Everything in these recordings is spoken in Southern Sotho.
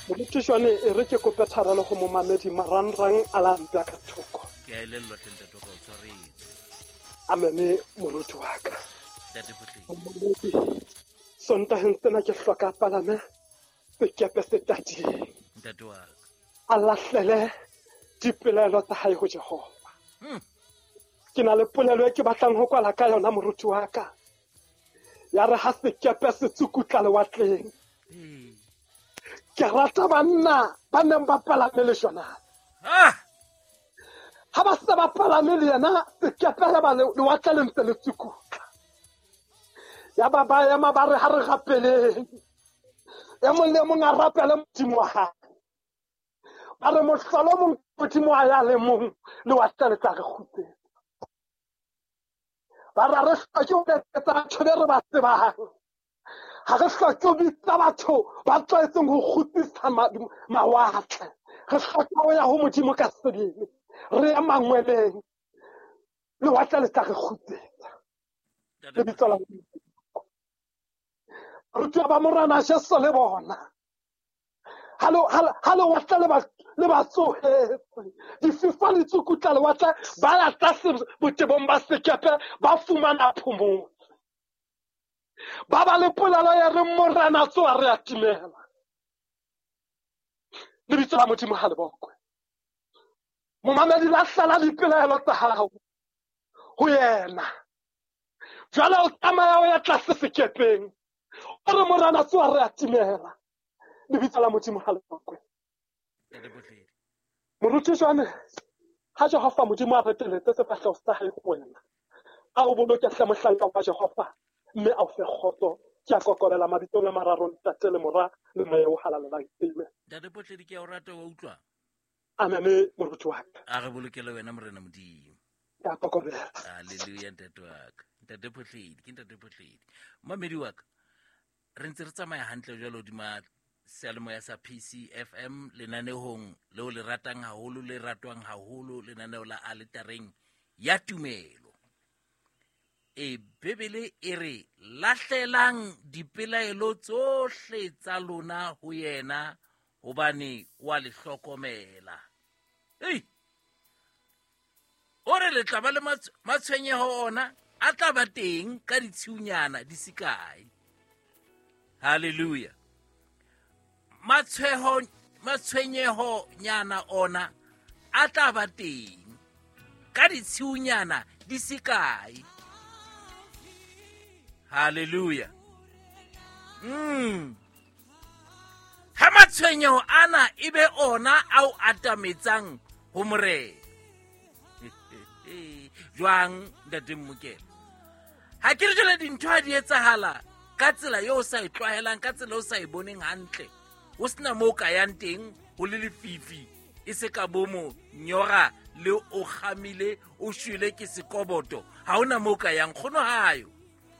Moruti jwale e re ke kope tshwarelo go momamedi marangrang a la mpya ka thoko. Ke a elellwa tle ntate wa ka, o tshwaretswe. Amene moruti wa ka. Ntate Photledi. Momamedi, Sontaheng sena ke hloka palame sekepe se tading. Ntate wa ka. A lahlele dipelaelo tsa hae ho Jehova. Ke na le polelo e ke batlang ho kwala ka yona moruti wa ka. Ya re ha sekepe se tsukutla lewatleng. Ke rata banna ba neng ba palame le Jonase. Ha ba se ba palame le yena, sekepe ya ba lewatle le ntse le tsukutla. Ya ba ba ema ba re ha re rapeleng. E mong le mong a rapele Modimo wa hae. Ba re mohlolo mong Modimo wa ya le mong, lewatle le tla re kgutsetsa. Ba re ha re hloke ho letsetsa batho be re ba tsebang. Ha re hloke ho bitsa batho ba tlwaetseng ho kgutsisa mawatle. Re hloka ho ya ho Modimo ka sebele. Re ya mangweleng. Lewatle le tla re kgutsetsa. Lebitso la Modimo. Barutiwa ba Morena Jesu le bona. Ha lewatle le ba tsohetse. Dififa le tsukutla lewatle, ba ya tlase botebong ba sekepe, ba fumana phomolo. Ba ba le polelo ya re Morena tsoha re a timela. Lebitso la Modimo ha le bokwe. Momamedi, lahlela dipelaelo tsa hao ho yena. Jwale o tsamaya o ya tlase sekepeng. O re Morena tsoha re a timela. Lebitso la Modimo ha le bokwe. Moruti jwale, ha Jehova Modimo a reteletse sefahleho sa hae ho wena, a o boloke hle mohlanka wa Jehova, mme a o fe kgotso. Ke a kokobela mabitsong a mararo, Ntate le Mora le Moya o Halalelang. Amen. Ntate Photledi, ke a o rata, wa utlwa? Amen, moruti wa ka. A re bolokele wena Morena Modimo. Ke a kokobela. Hallelujah, ntate wa ka. Ntate Photledi, ke Ntate Photledi. Mamedi wa ka, re ntse re tsamaya hantle jwalo hodima seyalemoya sa PCFM, lenanehong leo le ratang haholo, le ratwang haholo, lenaneo la aletareng ya tumelo. E Bibele e re lahlelang dipelaelo tsohle tsa lona ho yena, hobane wa le hlokomela. Ei! O re le tla ba le matshwenyeho ona a tla ba teng ka ditshiunyana di se kae. Hallelujah. Matshwenyeho nyana ona a tla ba teng ka ditshiunyana di se kae. Hallelujah. Ha matshwenyeho ana e be ona a o atametsang ho Morena. Jwang, Ntate Mmokela? Ha ke re jwale dintho ha di etsahala ka tsela eo o sa e tlwaelang, ka tsela eo o sa e boneng hantle, ho sena moo o ka yang teng, ho le lefifi, e se ka bomo nyora le o kgamile, o shwele ke sekoboto, ha hona moo o ka yang. Nkgono hayo,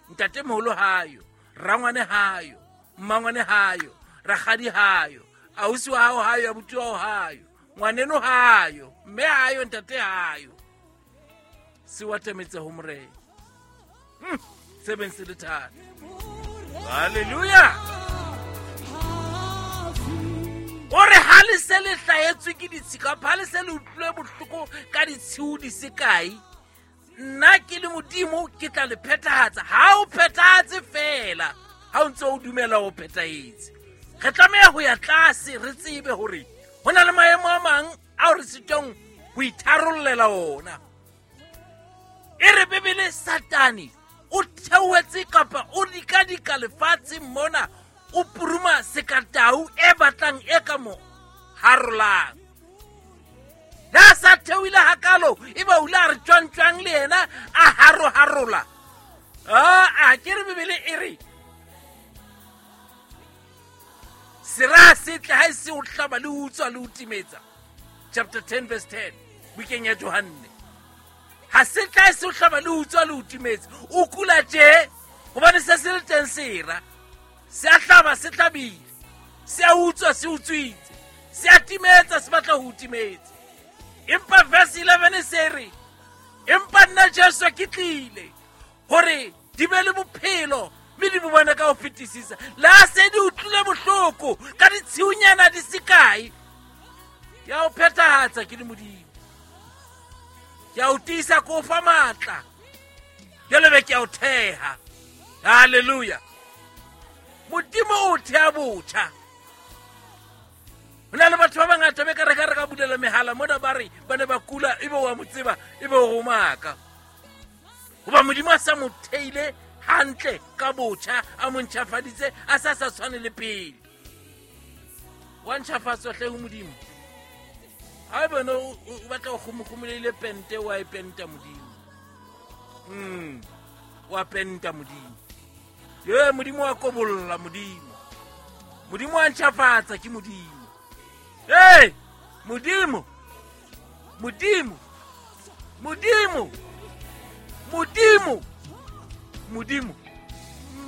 ntatemoholo hayo, rangwane hayo, mmangwane hayo, rakgadi hayo, ausi wa hao hayo, abuti wa hao hayo, ngwaneno hayo, mme hayo, ntate hayo. Se wa atametse ho Morena. Se beng se le thata. Hallelujah. O re ha le se le hlahetswe ke ditshika, ha le se le utlwile bohloko ka ditshiu di se kae, nna ke le Modimo ke tla le phethahatsa. Ha o phethahatse feela, ha o ntse o dumela o phethahetse. Re tlameha ho ya tlase, re tsebe hore ho na le maemo a mang ao re sitwang ho itharollela ona. E re Bibele Satane o theohetse kapa o dikadika lefatsheng mona, o puruma sekatau e batlang e ka mo harolang. Le ha sa theohile hakalo, e ba o ile a re tjwang-tjwang le yena a haro-harola. A ke re Bibele e re sera se tle ha e se o hlaba le utswa le o timetsa. Chapter 10 verse 10, bukeng ya Johanne. Ha se tla e se o hlaba le utswa le o timetsa. O kula tje hobane se se le teng sera. Se a hlaba se hlabile. Se a utswa se utswitse. Se a timetsa se batla ho timetsa. Empa verse 11 se re, empa nna Jesu ke tlile hore di be le bophelo mme di bo bone ka ho fetisisa. Le ha se di utlwile bohloko, bohloko ka ditshiunyana di se kae, ke a o phethahatsa ke le Modimo. Ke a o tiisa, ke o fa matla, jwale be ke a o theha. Halleluja. Modimo o thea botjha. Ho na le batho ba bangata be ka re ka re ka bulela mehala mona, ba re ba ne ba kula, ebe wa mo tseba, ebe o romaka. Hoba Modimo a sa mo theile hantle ka botjha, a mo ntjhafaditse, a sa sa tshwane le pele. Wa ntjhafatswa hle ho Modimo. Ha e bone o batla o kgomokgomoleile pente, wa e penta Modimo. Wa penta Modimo. Ye Modimo wa kobolla Modimo. Modimo wa ntjhafatsa ke Modimo. Hey, Modimo. Modimo. Modimo. Modimo. Modimo.